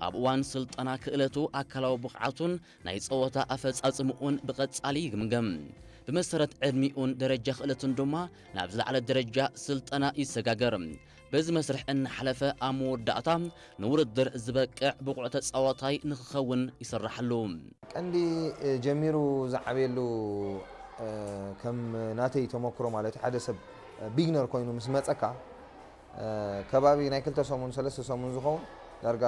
ኣብ እዋን ስልጠና ክእለቱ ኣካላዊ ብቕዓቱን ናይ ጸወታ ኣፈጻጽምኡን ብቐጻሊ ይግምገም። ብመሰረት ዕድሚኡን ደረጃ ክእለቱን ድማ ናብ ዝለዓለ ደረጃ ስልጠና ይሰጋገር። በዚ መስርሕ እናሓለፈ ኣብ መወዳእታ ንውድድር ዝበቅዕ ብቑዕ ተጻዋታይ ንኽኸውን ይስራሓሉ። ቀንዲ ጀሚሩ ዝዓበየሉ ከም ናተይ ተመክሮ ማለት ሓደ ሰብ ቢግነር ኮይኑ ምስ መጸካ ከባቢ ናይ ክልተ ሰሙን ሰለስተ ሰሙን ዝኸውን ዳርጋ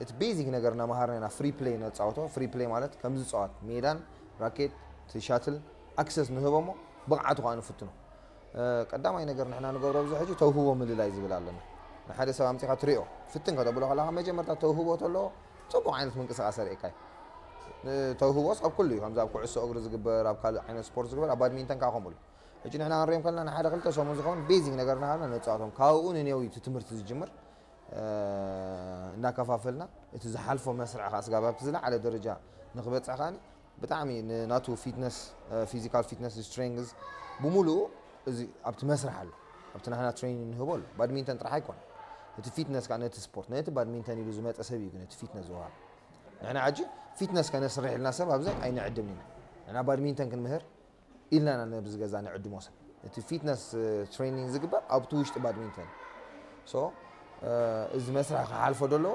እቲ ቤዚክ ነገር እናመሃርና ኢና ፍሪ ፕሌይ ነፃወቶ። ፍሪ ፕሌይ ማለት ከም ዝፃወት ሜዳን ራኬት እቲ ሻትል ኣክሰስ ንህቦሞ ብቕዓቱ ከዓ ንፍትኖ። ቀዳማይ ነገር ንሕና ንገብሮ ኣብዚ ሕጂ ተውህቦ ምልላይ ዝብል ኣለና። ንሓደ ሰብ ኣምፂኻ ትሪኦ ፍትን ከተብሎ ከለካ መጀመርታ ተውህቦ ተለዎ ፅቡቅ ዓይነት ምንቅስቃስ ኣርእካ እዩ። ተውህቦስ ኣብ ኩሉ እዩ። ከምዚ ኣብ ኩዕሶ እግሪ ዝግበር፣ ኣብ ካልእ ዓይነት ስፖርት ዝግበር፣ ኣብ ባድሚንተን ከዓ ከምኡ እዩ። ሕጂ ንሕና ክንሪኦም ከለና ንሓደ ክልተ ሰሙን ዝኸውን ቤዚክ ነገር እናሃብና ነፃወቶም። ካብኡ ንኔው እዩ እቲ ትምህርቲ ዝጅምር። እናከፋፈልና እቲ ዝሓልፎ መስርዕ ከዓ ስጋብ ኣብቲ ዝለዓለ ደረጃ ንክበፅሕ ከዓኒ ብጣዕሚ ንናቱ ፊትነስ፣ ፊዚካል ፊትነስ፣ ስትሬንግዝ ብሙሉኡ እዚ ኣብቲ መስርሕ ኣሎ። ኣብቲ ናህና ትሬኒንግ ንህቦ ኣሎ። ባድሚንተን ጥራሕ ኣይኮን እቲ ፊትነስ ከዓ ነቲ ስፖርት ነቲ ባድሚንተን ኢሉ ዝመፀ ሰብ እዩ ግን እቲ ፊትነስ ዝወሃብ። ንሕና ሕጂ ፊትነስ ከነስርሕ ኢልና ሰብ ኣብዚ ኣይንዕድምን ኢና። ንሕና ባድሚንተን ክንምህር ኢልና ኢና ነብዚ ገዛ ንዕድሞ ሰብ። እቲ ፊትነስ ትሬኒንግ ዝግበር ኣብቲ ውሽጢ ባድሚንተን። ሶ እዚ መስርሕ ክሓልፎ ደለዎ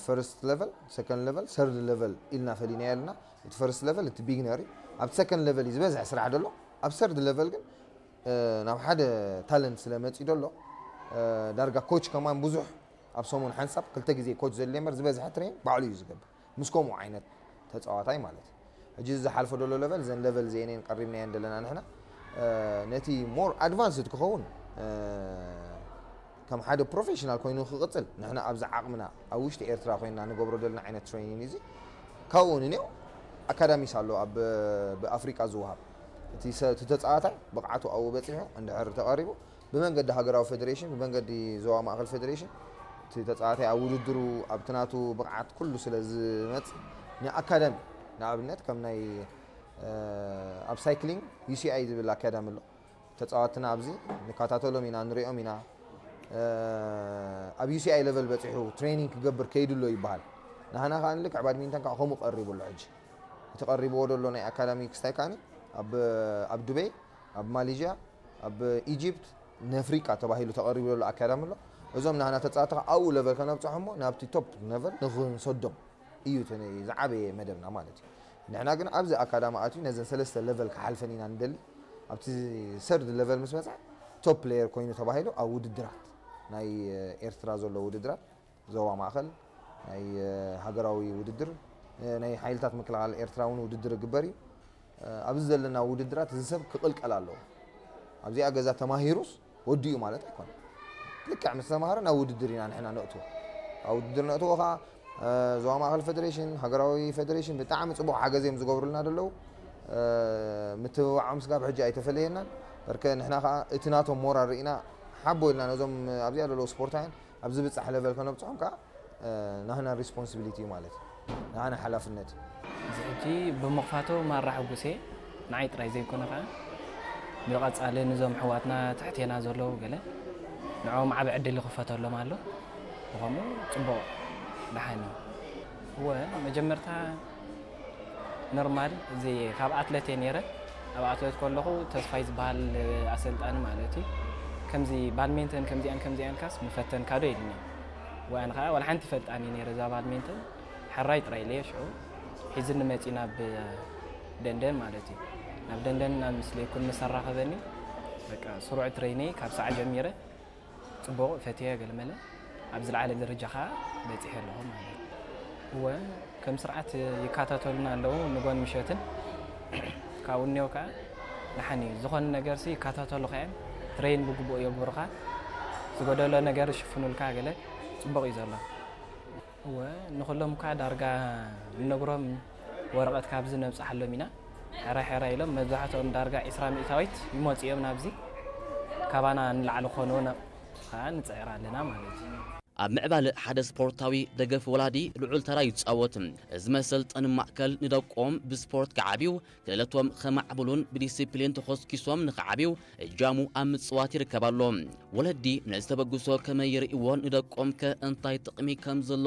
ፈርስት ሌቨል፣ ሰከንድ ሌቨል፣ ሰርድ ሌቨል ኢልና ፈሊና ኣለና። እቲ ፈርስት ሌቨል እቲ ቢግነር እዩ። ኣብቲ ሰከንድ ሌቨል እዩ ዝበዝሐ ስራሕ ደሎ። ኣብ ሰርድ ሌቨል ግን ናብ ሓደ ታለንት ስለ መፂ ደሎ ዳርጋ ኮች ከማን ብዙሕ ኣብ ሰሙን ሓንሳብ ክልተ ግዜ ኮች ዘድልየ እምበር ዝበዝሐ ትሬን ባዕሉ እዩ ዝገብር ምስ ከምኡ ዓይነት ተፃዋታይ ማለት እዩ። ሕጂ እዚ ዝሓልፎ ደሎ ሌቨል እዘን ሌቨል እዚአን ቀሪብናየን ደለና ንሕና ነቲ ሞር ኣድቫንስድ ክኸውን ከም ሓደ ፕሮፌሽናል ኮይኑ ክቕፅል ንሕና ኣብዚ ዓቕምና ኣብ ውሽጢ ኤርትራ ኮይንና ንገብሮ ደለና ዓይነት ትሬኒንግ እዚ ካብኡ ንኔው ኣካዳሚስ ኣሎ ኣብ ብኣፍሪቃ ዝወሃብ እቲ ተፃዋታይ ብቕዓቱ ኣብኡ በፂሑ እንድሕር ተቐሪቡ ብመንገዲ ሃገራዊ ፌደሬሽን ብመንገዲ ዞባ ማእኸል ፌደሬሽን እቲ ተፃዋታይ ኣብ ውድድሩ ኣብቲ ናቱ ብቕዓት ኩሉ ስለ ዝመፅ ንኣካዳሚ ንኣብነት ከም ናይ ኣብ ሳይክሊንግ ዩሲኣይ ዝብል ኣካዳሚ ኣሎ። ተፃዋትና ኣብዚ ንከታተሎም ኢና ንሪኦም ኢና። ኣብ ዩሲኣይ ሌቨል በፂሑ ትሬኒንግ ክገብር ከይዱ ኣሎ ይበሃል። ንሃና ከዓ ልክዕ ባድሚንተን ከዓ ከምኡ ቀሪቡ ኣሎ ሕጂ እቲ ቀሪብዎ ዘሎ ናይ ኣካዳሚ ክስታይ ከዓኒ ኣብ ዱበይ ኣብ ማሌዥያ ኣብ ኢጅፕት ንኣፍሪቃ ተባሂሉ ተቐሪቡ ዘሎ ኣካዳሚ ኣሎ። እዞም ናህና ተፃወቲ ከዓ ኣብኡ ለቨል ከነብፅሖ እሞ ናብቲ ቶፕ ለቨል ንክንሰዶም እዩ እቲ ዝዓበየ መደብና ማለት እዩ። ንሕና ግን ኣብዚ ኣካዳሚ ኣትዩ ነዘን ሰለስተ ለቨል ክሓልፈን ኢና ንደሊ። ኣብቲ ሰርድ ለቨል ምስ መፅኣ ቶፕ ፕሌየር ኮይኑ ተባሂሉ ኣብ ውድድራት ናይ ኤርትራ ዘሎ ውድድራት ዞባ ማእኸል ናይ ሃገራዊ ውድድር ናይ ሓይልታት ምክልኻል ኤርትራ እውን ውድድር ይግበር እዩ። ኣብዚ ዘለና ውድድራት እዚ ሰብ ክቕልቀል ኣለዎ። ኣብዚኣ ገዛ ተማሂሩስ ወዲኡ ማለት ኣይኮነ። ልክዕ ምስ ተማሃረ ናብ ውድድር ኢና ንሕና ነእትዎ። ኣብ ውድድር ነእትዎ ከዓ ዞባ ማእኸል ፌደሬሽን፣ ሃገራዊ ፌደሬሽን ብጣዕሚ ፅቡቕ ሓገዝ እዮም ዝገብሩልና ዘለዉ። ምትብባዖም ስጋብ ሕጂ ኣይተፈለየናን። በርከ ንሕና ከዓ እቲ ናቶም ሞራል ርኢና ሓቦ ኢልና ነዞም ኣብዚኣ ዘለዉ ስፖርታውያን ኣብ ዝብፃሕ ለቨል ከነብፅሖም ከዓ ናህና ሪስፖንሲቢሊቲ እዩ ማለት እዩ። ናህና ሓላፍነት እዩ። እዚ ሕጂ ብምኽፋቱ ማራ ሕጉስ እየ። ንዓይ ጥራይ ዘይኮነ ከዓ ብቐፃሊ ንዞም ኣሕዋትና ትሕቴና ዘለዉ ገለ ንዕኦም ዓቢ ዕድል ይኽፈተሎም ኣሎ። ብኸምኡ ፅቡቕ ደሓን እዩ። እወ መጀመርታ ኖርማል እዚ ካብ ኣትለት እየ ነይረ። ኣብ ኣትለት ከለኹ ተስፋይ ዝበሃል ኣሰልጣኒ ማለት እዩ ከምዚ ባድሜንተን ከምዚኣን ከምዚኣን ካስ ምፈተንካ ዶ ኢልኒ። ወኣን ከዓ ዋላ ሓንቲ ይፈልጣን እዩ ነይረ እዛ ባድሜንተን። ሕራይ ጥራይ ኢለዮ ሽዑ ሒዝኒ መፂ ናብ ደንደን ማለት እዩ። ናብ ደንደን ናብ ምስለይኩን ምስ ኣራኸበኒ በቃ ስሩዕ ትሬነይ ካብ ሰዓ ጀሚረ ፅቡቕ ፈትየ ገልመለ ኣብ ዝለዓለ ደረጃ ከዓ በፂሐ ኣለኹ ማለት እዩ። እወ ከም ስርዓት ይከታተሉና ኣለዉ ንጎን ምሸትን ካብኡ እኒኦ ከዓ ደሓን እዩ ዝኾነ ነገር ሲ ይከታተሉካ እዮም ትሬን ብግቡእ የግብሩካ ዝጎደሎ ነገር ይሽፍኑልካ ገለ ፅቡቕ እዩ ዘሎ። እወ ንኹሎም እኳ ዳርጋ ንነግሮም ወረቐት ካብዚ ነብፅሓሎም ኢና። ሕራይ ሕራይ ኢሎም መብዛሕትኦም ዳርጋ ዒስራ ሚእታዊት ይመፁ እዮም ናብዚ ካባና ንላዕሊ ክኾኑ ከዓ ንፅዕር ኣለና ማለት እዩ። ኣብ ምዕባለ ሓደ ስፖርታዊ ደገፍ ወላዲ ልዑል ተራ ይጻወት። እዚ መሰልጠኒ ማእከል ንደቆም ብስፖርት ክዓብዩ ክእለቶም ከማዕብሉን ብዲሲፕሊን ተኾስኪሶም ንኽዓብዩ እጃሙ ኣብ ምጽዋት ይርከብ ኣሎ። ወለዲ ነዚ ተበግሶ ከመይ ይርእይዎ ንደቆም ከ እንታይ ጥቕሚ ከም ዘለዎ